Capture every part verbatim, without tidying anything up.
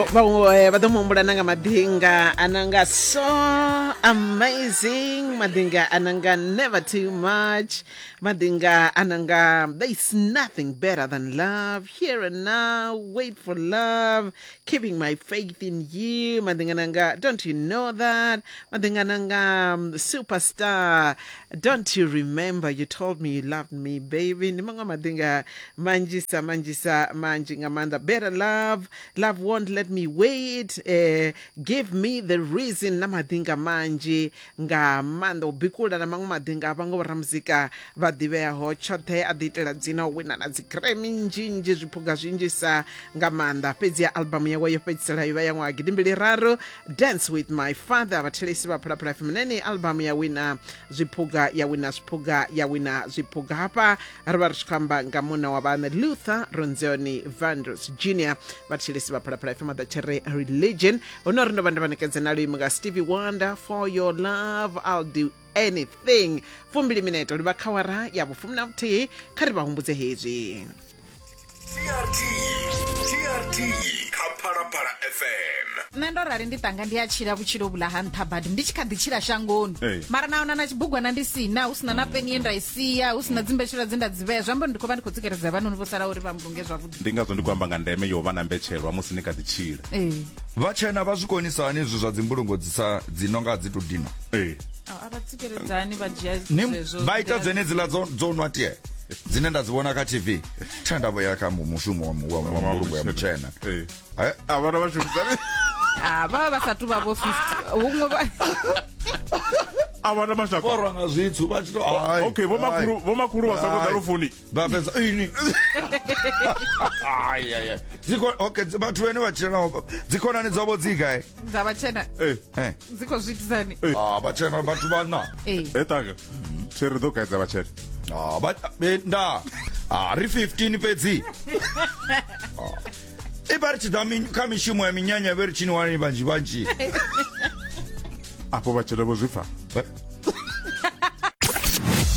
Vhaṅwe vha ḓo muhumbula na nga maḓinga ananga so amazing, maḓinga ananga never too much, maḓinga ananga there is nothing better than love, here and now, wait for love, keeping my faith in you, maḓinga ananga don't you know that, maḓinga ananga um, superstar, don't you remember you told me you loved me baby. Ndi maṅwe maḓinga manzhisa manzhisa manzhi nga maanḓa. Better love, love won't let me wait, uh, give me the reason, na maḓinga manzhi nga maanḓa. U bikula na maṅwe maḓinga a vhaṅwe vhoramuzika vha ḓivheaho tshoṱhe, a ḓi itela dzina u wina na dzi Grammy nnzhi nnzhi, zwiphuga zwinzhisa nga maanḓa. Fhedzi ya albamu yawe yo fhedzisela yo vha ya ṅwaha gidimbili raru, Dance with My Father. Vhathelesi vha Phalaphala F M, nene albamu ya wina zwiphuga, ya wina zwiphuga, ya wina zwiphuga. Hafha ri vha ri tshi khou amba nga munna wa vhaṋe Luther Ronzoni Vandross Junior Vhathelesi vha Phalaphala F M, ḓa religion hu no ri ndo vha ndo vha ṋekedza na luimbo nga Stevie Wonder, for your love I'll do anything. Fumbili minete livha kha awara ya vhufumi na vhuthihi. Kha ri vha humbudze hezwi. T R T T R T kha Phalaphala F M. Nṋe ndo rali ndi tanga ndi a tshila vhutshilo vhula ha nṱha badi, ndi tshi kha ḓi tshila shangoni. Hey. Mara na hona na tshibugwana ndi sina, hu sina na peni ye nda i sia, hu sina dzimbetshela dze nda dzi vhea, zwi amba uri ndi khou vha ndi khou tsikeledza vhanoni vho sala uri vha mbulunge zwavhuḓi. Ndi ngazwo ndi khou amba nga ndeme yo vha na mbetshelwa musi ni kha ḓi tshila. Ee. Vhatshena vha zwi konisa hani izwi zwa dzimbulungo dzi sa dzi nonga dzi to dina? Ee. A vha tsikeledzani vha dzhia Ni zwezwo. vha ita dzenedziḽa dzo dzo nwa tie dzine nda dzi vhona kha T V. Thenda vho ya kha mushumo wa wa mbulungo ya mutshena. Ee. Eh, A vhana vha shumisani. Ah, vha vha sa tu vha vho fifty. Huṅwe vha A vhana mashaka. Vho nga zwitsu vha tshi to ai. Okay, vho makhulu vho makhulu vha sa khou lufuni. Vha fhedza ini. Ai ai ai. Dziko okay, vhathu vhene vha tshila navho dzikhonani dzavho dzi gai? Dza vhatshena. Eh. Eh. Dzi khou zwi itisani? Ah, vhatshena vhathu vhana. Eh. E tanga. Tshi ri ḓo kaidza vhatshena. Ah, vha nda. Ah, ri fifteen fhedzi. I vha ri tshi ḓa kha mishumo ya minyanya vhe ri tshini wani vhanzhi vhanzhi. Afho vhatshena vho zwi pfa.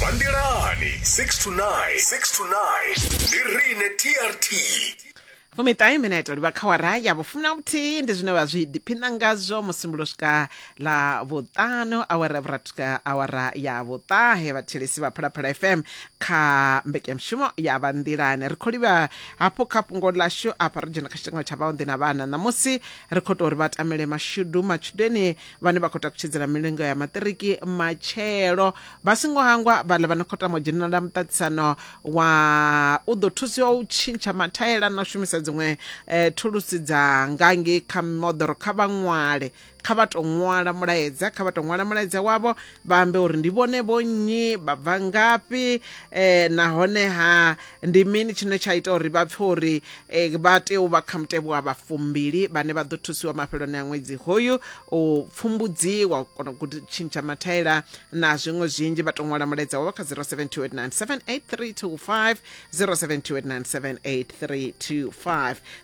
Bandelani six to nine, six to nine. Ndi rine T R T. Fumiṱahe minete livha kha awara ya vhufumi na vhuthihi. Ndi zwine vha zwi ḓiphina ngazwo musi swika ḽa vhuṱanu, awara ya vhurathi swika awara ya vhuṱahe. Vhathelesi vha Phalaphala F M kha mbekanyamushumo ya vha nḓilani. Ri khou livha hafhu kha fhungo ḽashu afha, ri dzhena kha tshitengo tsha vhaonḓi na vhana. Ṋamusi ri khou tou uri vha tamele mashudu matshudeni vhane vha khou takutshedzela milingo ya maṱiriki matshelo. Vha songo hangwa vhaḽa vha no khou tama u dzhenela muṱaṱisano wa u ḓo thusiwa u tshintsha mathaela na u shumisa dziṅwe eh, thulusi dza ngangi kha moḓoro. Kha vha ṅwale, kha vha to ṅwala mulaedza, kha vha to ṅwala mulaedza wavho, vha ambe uri ndi vhone vhonnyi, vha bva ngafhi, eh, nahone ha ndi mini tshine tsha ita uri vha pfe uri eh, vha tea u vha kha mutevhe wa vhafumbili vhane vha ḓo thusiwa mafheloni a ṅwedzi hoyu u pfumbudziwa u kona u tshintsha mathaela na zwiṅwe zwinzhi. Vha to ṅwala mulaedza wavho kha zero seven two eight nine seven eight three two five, zero seven two eight nine seven eight three two five.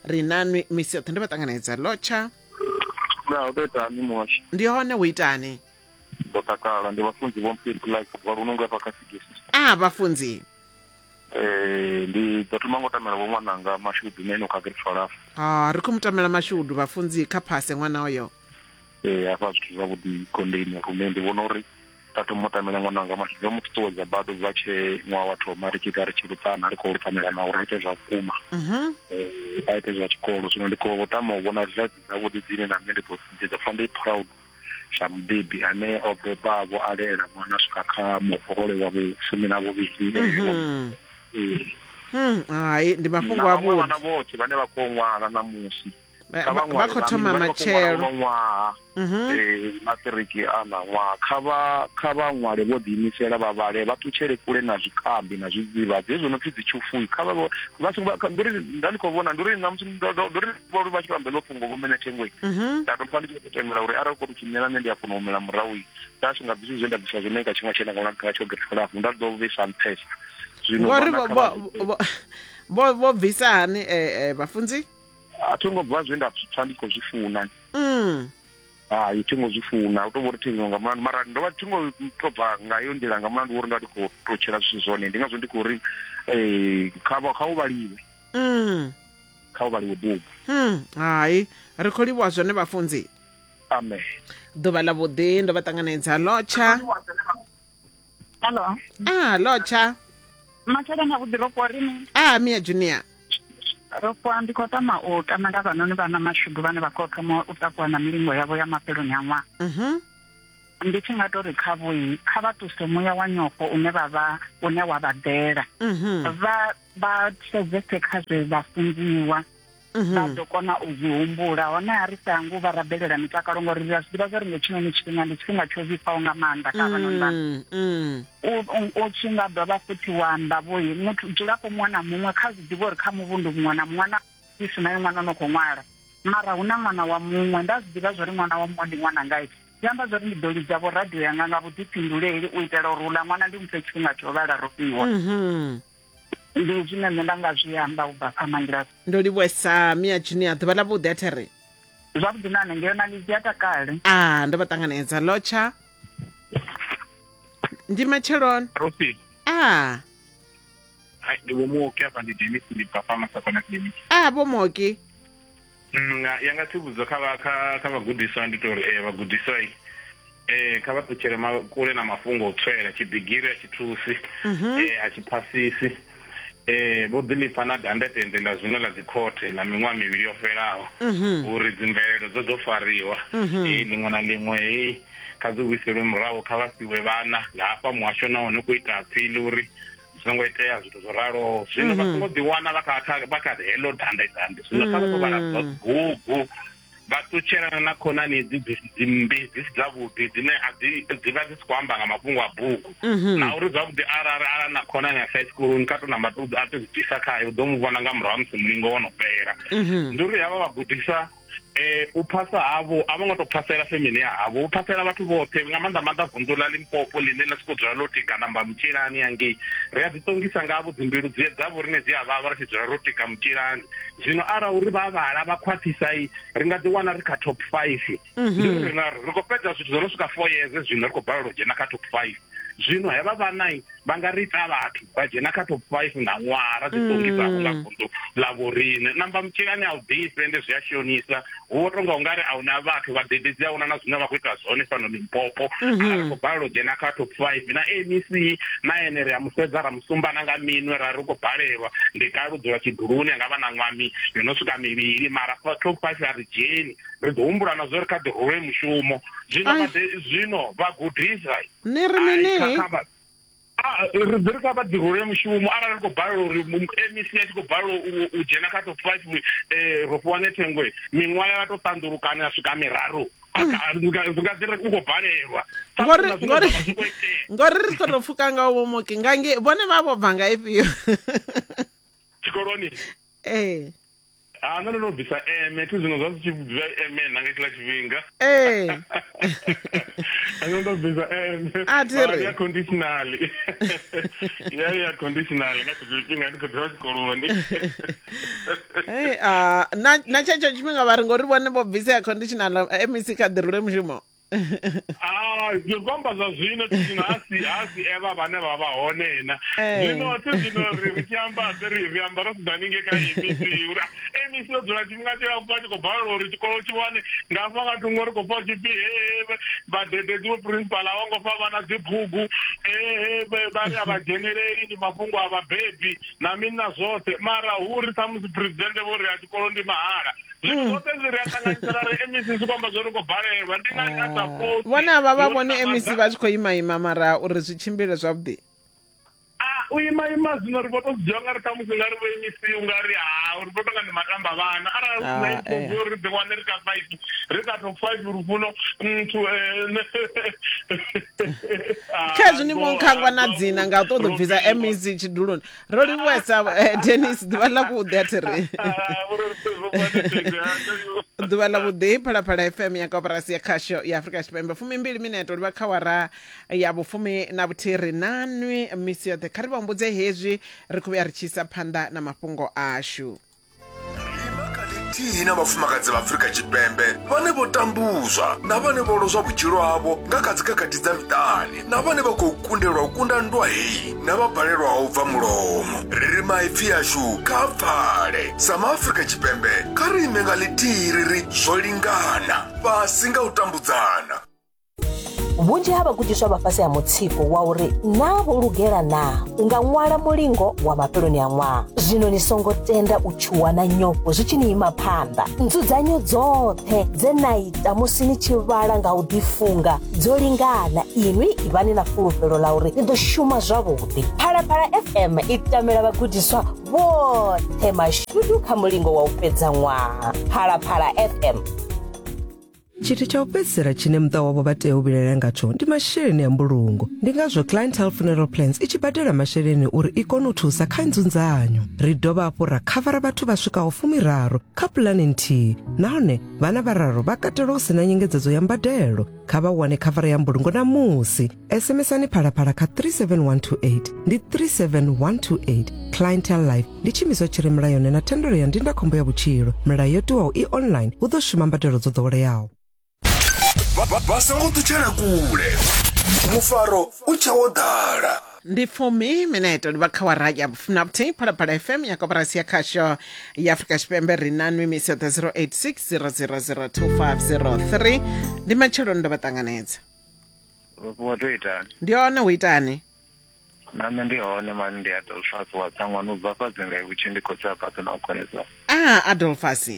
Ri nanwi misi yoṱhe, ndi vha ṱanganedza lotsha. Na u itani muhasho? Ndi hone u itani? Ndo takala, ndi vhafunzi vho Mpiri like vha lunungu hafha kha Sigisi. Ah, vhafunzi. Eh, ndi ḓo thoma ngo tamela vho ṅwananga mashudu nene kha grade twelve. Ah, ri khou mu tamela mashudu vhafunzi kha phase ṅwana oyo. Eh, hafha zwithu zwavhuḓi gondeni rune ndi vhona uri nda thoma u tamela ṅwananga mashudu, ndo mu ṱuṱuwedza bado bva tshe ṅwaha wa thoma ri tshi ita ri tshi luṱana ri khou luṱanela na uri a ite zwa vhukuma. Mhm. Eh, a ite zwa tshikolo. Zwino ndi khou tama u vhona results dzavhuḓi dzine na nṋe ndi ḓo ndi ḓo pfa ndi proud sa mubebi ane o bebavho a lela ṅwana swika kha muholo wa vhufumi na vhuvhili. Mhm. Eh, Hmm, hai ndi mafhungo na vhaṅwe avhuḓi. vhana vhoṱhe vhane vha khou ṅwala ṋamusi Vha kha vha vha khou thoma matshelo. ṅwaha Mhm. eh maṱiriki a na ṅwaha kha vha kha vha ṅwale vho ḓiimisela vha vhale vha ṱutshele kule na zwikambi na zwidzidzivhadzi hezwo no pfi dzi tshufuwi kha vha vha songo ndi uri nda ndi khou vhona ndi uri ṋamusi ndi uri vho vha tshi vha ḽo fhungo vho mene thengwe Mhm. nda to pfa ndi tshi khou tendela uri arali khou tshinyela nṋe ndi a kona u humela murahu nda si nga bvisi zwe nda bvisa zwone nga tshiṅwe tshine nga nga tsho grade nda ḓo vhisa nṱhesa zwino Ngori vhana vho kha vho vha vho vho vho bvisa hani eh, eh, vhafunzi? A thi ngo bva zwe nda pfa ndi khou zwi funa. Mm. Hai, thi ngo zwi funa u to vhori thi nga mulandu mara ndo vha thi ngo to bva nga iyo nḓila nga mulandu uri nda ndi khou to tshila zwithu zwone ndi ngazwo ndi khou ri eh kha vha kha u vhaliwe. Mm. kha u vhaliwe bugu. Hmm, hai ri khou livhuwa zwone vhafunzi. Amen. Ḓuvha ḽa vhuḓi, ndo vha ṱanganedza. Lotsha. Hello. Ah, lotsha. Matshela na vhuḓi, ro fhiwa rini? Ah, Mia Junior. Ro fhiwa, ndi khou tama u tamela vhanoni vha na mashudu vhane vha khou thoma u takuwa na milingo yavho ya mafheloni a ṅwaha. Mhm. Ndi tshi nga tori kha vhoi, kha vha ṱuse muya wa nyofho une vha vha une wa vha ḓela. Mhm. Vha vha sedzese kha zwe vha funziwa. Vha ḓo kona u zwi humbula. Hone a ri sangu vha rabelela mitakalo ngori ri a zwi ḓivha zwa uri nga tshinoni tshifhinga ndi tshifhinga tsho vhifhaho nga maanḓa kha vhanoni vha. Mm, mm. U tshi nga dovha futhi wa amba vhoi muthu dzulafho muṅwe na muṅwe kha zwi ḓivhe uri kha muvhundu muṅwe na muṅwe na si naye ṅwana no khou ṅwala, mara hu na ṅwana wa muṅwe, nda zwi ḓivha zwa uri ṅwana wa muṅwe ndi ṅwana ngai. Zwi amba zwa uri ndi ḓo lidza vho radio yanga nga vhuḓifhinduleli u itela uri uḽa ṅwana ndi muphe tshifhinga tsho vhala ro fhiwa. Mhm. Ndi zwine nṋe nda nga zwi amba u bva kha Mangilasi. Ndo livhuwesa Mia Junior, ḓuvha ḽa vhuḓi a there. Zwavhuḓi na hanengei na lidzi a takale. Ah, ndo vha ṱanganedza. Lotsha. Ndi matsheloni. Rosi. Ah. Hai, ndi vho Muoki afha, ndi Dennis, ndi bva fha Masakona Clinic. Ah, vho Muoki. Nga ya nga tsivhudzo kha vha kha kha vhagudiswa ndi tori eh vhagudiswa eh kha vha ṱutshele kule na mafhungo o tswela tshibigiri a tshi thusi, eh a tshi phasisi. Eh vho ḓilipfa na dandetende ḽa zwino ḽa dzikhothe ḽa miṅwaha mivhili yo fhelaho uri dzimvelelo dzo ḓo fariwa, eh ḽiṅwe na ḽiṅwe hei kha dzi vhuiselwe murahu, kha vha fhiwe vhana nga hafha muhasho nahone khou ita apili uri zwi songo itea zwithu zwo raloho. Zwino vha songo ḓiwana vha kha vha kha heḽo dandetande, zwino kha vha khou vhala bugu vha ṱutshelana na khonani dzi dzi mmbi dzi si dzavhuḓi dzine a dzi dzi vha dzi si khou amba nga mafhungo a bugu, na uri zwavhuḓi arali ara na khonani a sa tshikoloni kha to namba to a to zwi khayo u ḓo mu vhona nga murahu ha musi mulingo wo no fhela. Ndi uri havha vhagudisa eh u phasa havho a vho ngo to phasela femini ya havho, u phasela vhathu vhoṱhe nga maanḓa maanḓa vunḓu ḽa Limpopo ḽine ḽa siko dzula ḽo tika namba mutshilani hangei. Ri a ḓi ṱongisa ngavho dzimbilu dzi dzavho rine dzi a vhavha ri tshi dzula ro tika mutshilani. Zwino arali uri vha vhala vha khwaṱhisa ri nga ḓi wana ri kha top five. Ndi uri ri khou fhedza zwithu zwo no swika four years zwino ri khou balelwa u dzhena kha top five. Zwino hevha vhana vha nga ri ita vhathu vha dzhena kha top five nga ṅwaha ra ḓi ṱongisa nga vunḓu ḽa vhoriṋe. Namba mutshilani a u ḓifhe ende zwi a shonisa, hu tonga ungari a huna vhathu vhadededzi a huna na zwine vha khou ita zwone fhano Limpopo. A ri khou balelwa u dzhena kha top five na M E C na ene ri a musedza ra musumbana nga minwe ra ri khou balelwa, ndi kale u dzula tshiduluni anga vha na ṅwami yo no swika mivhili mara top five a ri dzheni. Ri ḓo humbula na zwo ri kha ḓi rule mushumo zwino zwino vhagudisa ni ri mini ri ḓi ri kha vha ḓi rule mushumo arali ri khou balelwa uri M E C a tshi khou balelwa u dzhena kha top five ro fhiwa nethengwe miṅwaha ya to ṱanḓulukana ya swika miraru nga ḓi ri u khou balelwa ngori ngori ngori ri khou tou pfuka nga vho Muoki nga nge vhone vha vho bva nga ifhio tshikoloni. Ee. Ah, nṋe ndo no bvisa eme thi zwino zwa zwi tshi bva eme na nga tshiḽa tshifhinga. Ee. Nṋe ndo bvisa eme. A thi ri. Ya conditional. Ya ya conditional nga tshifhinga ndi khou dzula tshikoloni. Hey, ah na na tshetsho tshifhinga vha ri ngori vhone vho bvisa ya conditional M E C kha ḓi rule mushumo. Ah, ndi khou zwa zwino zwino a si a si evha vhane vha vha hone na. Zwino thi zwino ri ri tshi amba ri ri amba ro sedza haningei kha M E C uri M E C yo dzula tshifhinga tshilapfhu a tshi khou balelwa uri tshikolo tshi wane nga hafha nga thungo ri khou pfa tshipfi he vhadededzi vho principal a vho ngo fha vhana dzibugu, he vha ri a vha dzheneleli ndi mafhungo a vhabebi na mini na zwoṱhe, mara hu ri ṱhamusi president vho ri a tshikolo ndi mahala. Zwino zwoṱhe zwi ri a ṱanganyisela ri M E C zwi khou amba zwo ri khou balelwa ndi ngani a sa vhone avha vha vhone M E C vha tshi khou ima ima mara uri zwi tshimbile zwavhuḓi. Ah, u ima ima zwino ri vho to dzhia nga ri ṱhamusi nga ri vho M E C u nga ri ha ri vho tonga ndi matamba vhana arali hu sina improve uri ri ḓi wane ri kha five ri kha top five lufuno muthu. Khezwi ni vho nkhangwa na dzina nga u ṱoḓa u bvisa M E C tshiduloni. Ro livhuwesa Dennis, ḓuvha ḽa vhuḓi a thi ri. Ḓuvha ḽa vhuḓi, Phalaphala F M ya Koporasi ya Khasho ya Afrika Tshipembe, fumimbili minete livha kha awara ya vhufumi na vhuthihi ri na nwi misi yoṱhe. Kha ri vha humbudze hezwi ri khou vhuya ri tshi isa phanḓa na mafhungo ashu. Rima kha ḽithihi na vhafumakadzi vha Afrika Tshipembe vhane vho tambuzwa na vhane vho lozwa vhutshilo havho nga kha dzikhakhathi dza miṱani, na vhane vha khou kundelwa u kunda nndwa heyi na vha balelwaho u bva mulomo. Ri ri maipfi ashu kha pfale. Sa maAfrika Tshipembe kha ri ime nga ḽithihi ri ri zwo lingana, fhasi nga u tambudzana. Vhunzhi ha vhagudiswa vha fhasi ha mutsiko wa uri naa vho lugela naa u nga ṅwala mulingo wa mafheloni a ṅwaha. Zwino ni songo tenda u tshuwa na nyofho zwi tshi ni ima phanḓa. Nzudzanyo dzoṱhe dze na ita musi ni tshi vhala nga u ḓifunga dzo lingana. Inwi ivhani na fulufhelo ḽa uri ni ḓo shuma zwavhuḓi. Phalaphala F M i tamela vhagudiswa vhoṱhe mashudu kha mulingo wa u fhedza ṅwaha. Phalaphala F M. Tshithu tsha u fhedzisela tshine muṱa wavho vha tea u vhilaela ngatsho ndi masheleni a mbulungo. Ndi ngazwo Clientele Funeral Plans i tshi badela masheleni uri i kone u thusa kha nzunzanyo. Ri dovha hafhu ra khavara vhathu vha swikaho fumiraru kha pulane nthihi, nahone vhana vhararu vha katelwa hu sina nyengedzedzo ya mbadelo. Kha vha wane khavara ya mbulungo namusi. SMSani Phalaphala kha three seven one two eight, ndi three seven one two eight. Clientele Life ndi tshiimiswa tshi re mulayoni na thendelo ya ndindakhombo ya vhutshilo. Milayo yo tiwaho i online, hu ḓo shuma mbadelo dzo ḓoweleaho. Vha songo ṱutshela kule, mufaro u tshe wo ḓala. Ndi fumi mineto ndi vha kha wara ya vhufumi Phalaphala F M ya koporasi ya khasho ya Afrika Tshipembe. Ri na nwi misi yoṱhe zero eight six zero zero zero two five zero three. Ndi matsheloni ndo vha ṱanganedza. Wo to itani? Ndi hone hu itani? Na nṋe ndi hone mani, ndi Adolphus wa Tsangwani u bva fha dzinga vhutshi ndi khotsi a fhaṱo na u konesa. Ah, Adolphus.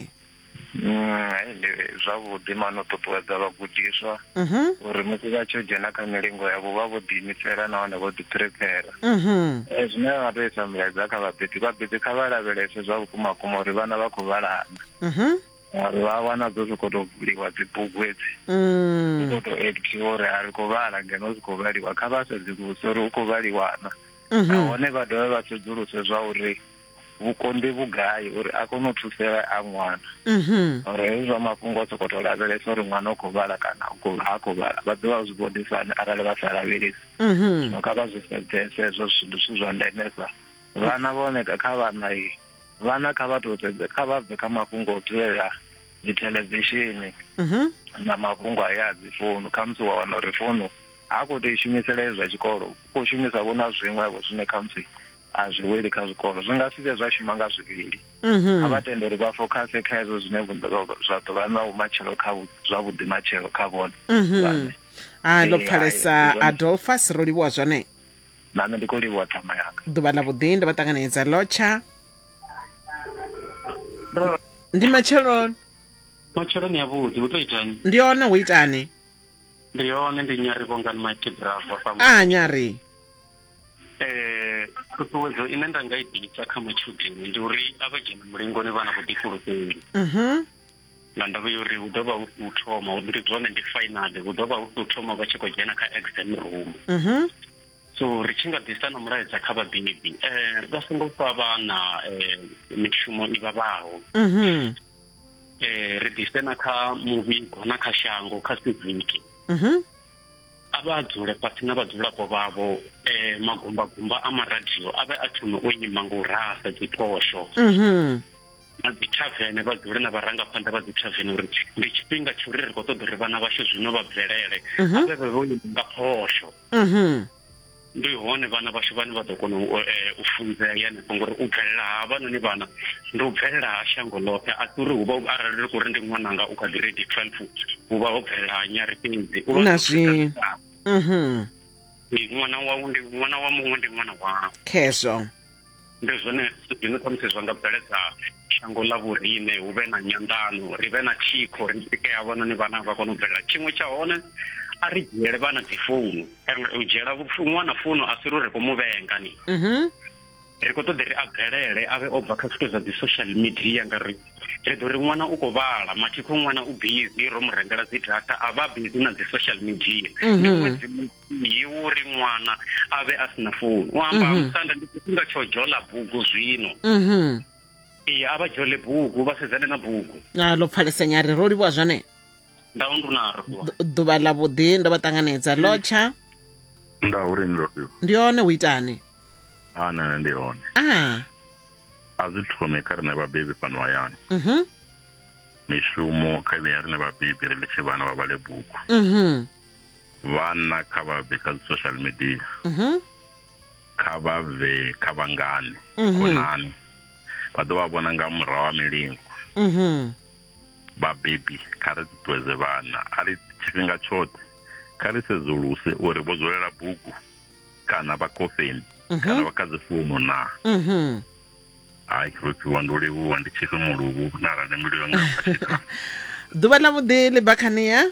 Mm, ndi zwavhuḓi mani u ṱuṱuwedza vhagudiswa uri musi vha tshi dzhena kha milingo yavho vha vho ḓiimisela nahone vho ḓi prepare. Zwine vha tou isa milaedza kha vhabebi, vhabebi kha vha lavhelese zwa vhukuma kuma uri vhana vha khou vhalana. Uri vha wana dzo sokou tou vuliwa dzibugu edzi, u khou tou actiwa uri a ri khou vhala ngeno zwi khou vhaliwa. Kha vha sedzuluse uri hu khou vhaliwana, nahone vha dovhe vha sedzuluse zwa uri vhukonḓi vhugai uri a kone u thusela a ṅwana. Uri hezwi zwa mafhungo a sokou tou lavhelesa uri ṅwana u khou vhala kana ha khou vhala, vha ḓo vha zwi vhonisa arali vha sa lavhelesi. Zwino kha vha zwi sedzese hezwo zwithu, ndi zwithu zwa ndemesa. Vhana vhone kha vhana vhana kha vha tou sedze, kha vha bve kha mafhungo o dzulela dzi theḽevishini na mafhungo aya a dzi founu. Khamusi wa wana uri founu ha khou tou i shumisela hezwi zwa tshikolo, u khou shumisa vho na zwiṅwevho zwine khamusi a zwi weli kha zwikolo, zwi nga si vhe zwa shuma nga zwivhili. A vha tende uri vha fokhase kha hezwo zwine zwa ḓo vha na vhumatshelo kha zwavhuḓi matshelo kha vhone. A ndo pfalesa Adolphus, ro livhuwa zwone. Na nṋe ndi khou livhuwa ṱhama yanga. Ḓuvha ḽa vhuḓi, ndo vha ṱanganedza. Lotsha. Ndi matsheloni. Matsheloni a vhuḓi, hu to itani? Ndi hone hu itani? Ndi hone, ndi Nyari Vhongani Mighty Bravo. A Nyari. Eh, ṱhuṱhuwedzo ine nda nga i ḓisa kha matshudeni ndi uri a vha dzhene mulingoni vha na vhuḓifulufheli. Nga ndavha ya uri hu ḓo vha hu si u thoma, ndi zwone ndi final, hu ḓo vha hu si u thoma vha tshi khou dzhena kha exam room. So ri tshi nga ḓisa na mulaedza kha vhabebi, eh, vha songo fha vhana mishumo i vhavhaho. Eh, ri ḓise na kha muvhigo na kha shango, kha siviki. A vha dzule fhasi na vhadzulapo vhavho, eh, magumbagumba a maradio a vhe a thome o ima nga u rasa dziphosho. Na dzi thavene vha dzule na vharangaphanḓa vha dzi thavene uri ndi tshifhinga tsha uri ri khou ṱoḓa uri vhana vhashu zwino vha bvelele, a vhe vhe vho ima nga phosho. Ndi hone vhana vhashu vhane vha ḓo kona u funzea hanefho, ngori u bvelela ha havhanoni vhana ndi u bvelela ha shango ḽoṱhe. A si uri hu vha arali ri khou ri ndi ṅwananga u kha grade twelve hu vha ho bvelela ha Nyari fhedzi. Na zwi ṅwana wau ndi ṅwana wa muṅwe ndi ṅwana wau. Khezwo ndi zwone zwine khamusi zwa nga bveledza shango ḽa vhoriṋe, hu vhe na nyanḓano, ri vhe na thikho, ri tike havhanoni vhana vha kone u bvelela. Tshiṅwe tsha hone, a ri dzhiele vhana dzi founu. U dzhiela ṅwana founu a si uri ri khou mu vhenga ni. Ri khou ṱoḓa ri a bvelele, a vhe o bva kha zwithu zwa dzi social media, ngauri ri ḓo ri ṅwana u khou vhala, mathikho ṅwana u busy, ro mu rengela dzi data, a vha busy na dzi social media. Ndi ṅwedzi muthihi uri ṅwana a vhe a sina founu. U amba musanda ndi tshifhinga tsho dzhola bugu zwino. Ee, a vha dzhole bugu, vha sedzane na bugu. A ḽo pfalesa Nyari, ro livhuwa zwone. Ḓuvha ḽa vhuḓi, ndo vha ṱanganedza. Lotsha. Nda uri ndo Ndi hone hu itani? Ah, na ndi hone. Ah. A zwi thome kha riṋe vhabebi fhano hayani. Mhm. Mishumo kha vhe rine vhabebi ri litshe vhana vha vhale bugu. Mhm. Vhana kha vha bve kha social media. Mhm. Kha vha bve kha vhangani, Mhm. khonani. Vha ḓo vha vhona nga murahu ha milingo. Mhm. Vhabebi kha ri ṱuṱuwedze vhana a ri tshifhinga tshoṱhe kha ri sedzuluse uri vho dzulela bugu kana vha khofheni kana vha kha dzi founu na. Mhm. Hai, ro fhiwa ndo livhuwa ndi tshifhe muluvhu na arali mbilu yanga. Ḓuvha ḽa vhuḓi ḽi bakhania.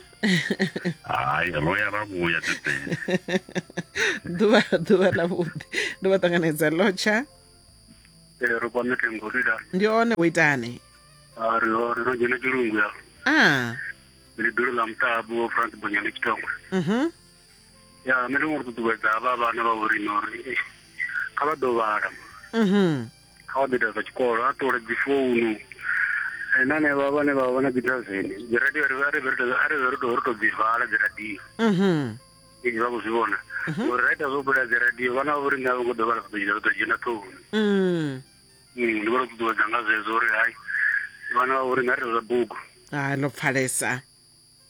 Hai, ro ya ra vhuya tete. Ḓuvha ḓuvha ḽa vhuḓi. Ndo vha ṱanganedza lotsha. Ee, ro kwame thengo ri da. Ndi hone wo itani? A ri ho ri no dzhena tshilungu ya. Ah. Ndi ḓulu ḽa muṱabu France Bonyane Tshitongwe. Mhm. Ya, nṋe ndi ngo ṱuṱuwedza havha vhana vha vhorine uri kha vha ḓo vhala. Mhm. Kha vha ḓo ita zwa tshikolo, a ṱole dzi founu. Na hanevha vhane vha vha na dzi dazeni, dzi radio ri vha ri ri ri ri to dzi vala dzi radio. Mhm. Ee, vha khou zwi vhona. Uri ra ita zwo bula dzi radio, vhana vha vhorine a vho ngo ḓo vhala vha ḓo dzhena ṱhohoni. Mm. Ndi vho ṱuṱuwedza nga zwezwo uri hai vhana vha vhorine a ri zwa bugu. Ah, ḽo pfalesa.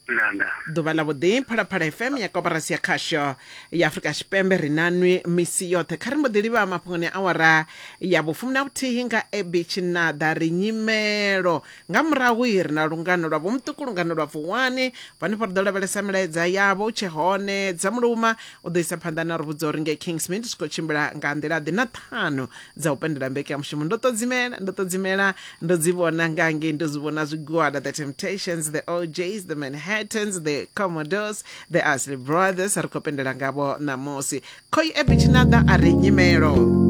Nda. Ḓuvha ḽa vhuḓi Phalaphala F M ya koporasi ya khasho ya Afrika Tshipembe ri na nwi misi yoṱhe. Kha ri mbo ḓi livha mafhungoni awara ya vhufumi na vhuthihi nga Abby Tshinada ri nyimelo. Nga murahu ri na lungano lwa vhomuṱuku, lungano lwa Vuwani. Vhanefho ri ḓo lavhelesa milaedza yavho u tshe hone dza muluma u ḓo isa phanḓa na ri vhudza uri ngei Kingsmead zwi khou tshimbila nga nḓila ḓe na ṱhanu dza u pendela mbekanyamushumo. Ndo ṱodzimela, ndo ṱodzimela, ndo dzi vhona nga ngei, ndo zwi vhona zwigwada, The Temptations, The O Js, The Manhattans, The Commodores, The Ashley Brothers. Ri khou pendela ngavho ṋamusi. Khoi Abby Tshinada a ri nyimelo.